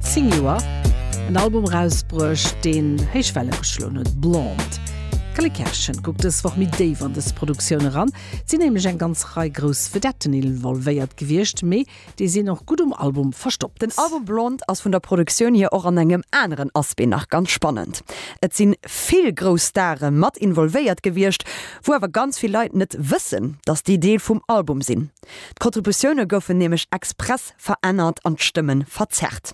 10 Joer en Album erausbruecht, deen héich Welle geschloen huet, Blonde. D'Cally Kerschen kuckt dës Woch méi déif an dës Produktioun eran. Et sinn nämlech eng ganz Rei grouss Vedetten involvéiert gewiescht, mee déi sinn och gutt um Album verstoppt. Den Album Blonde ass vun der Produktioun hier och an engem aneren Aspect nach ganz spannend. Et sinn vill grouss Stare mat involvéiert gewiescht, wou awer ganz vill Leit net wëssen, dass déi Deel vum Album sinn. D'Kontributioune goufen nämlech express verännert an d'Stëmmen verzerrt.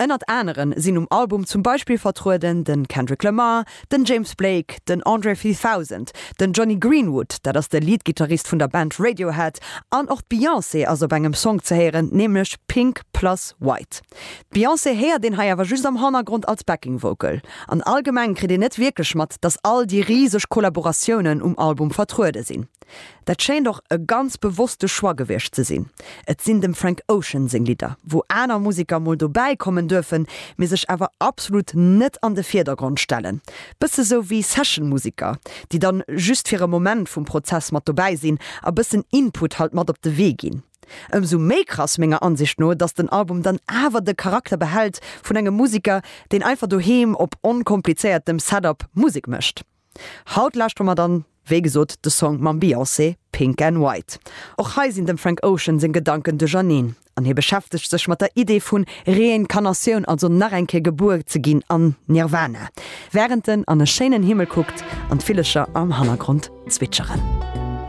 Ënnert aneren sinn um Album zum Beispill vertrueden den Kendrick Lamar, den James Blake, den Andre 3000, den Jonny Greenwood, dat ass de Lead-Gittarist vun der Band Radiohead, an och d'Beyoncé ass op engem Song ze héieren, nämlech Pink Plus White. D'Beyoncé héiert een hei awer just am Hannergrond als Backing Vocal. An allgemeng kritt een net wierklech mat, dass all déi riseg Kollaboratiounen um Album vertruede sinn. Dat schéint och e ganz bewosste Choix gewiescht ze sinn. Et sinn dem Frank Ocean seng Lidder, wou aner Museker mol dobäi kommen duerfen, mee sech awer absolut net an de Virdergrond stellen. Bësse sou wéi Session-Museker, déi dann just fir e Moment vum Prozess mat dobäi sinn a bëssen Input halt mat op de Wee ginn. Ëmsou méi krass menger Ansicht no, dass den Album dann awer de Charakter behält vun engem Museker, deen einfach doheem op onkomplizéiertem Setup Musek mécht. Haut lauschtere mer dann, wéi gesot, de Song mam Beyoncé, Pink and White. Och hei sinn dem Frank Ocean seng Gedanken duercherneen an hie beschäftegt sech mat der Idee vun Reinkarnatioun, also nach eng Kéier gebuer ze ginn an Nirvana, wärend en an e schéinen Himmel kuckt an d'Villecher am Hannergrond zwitscheren.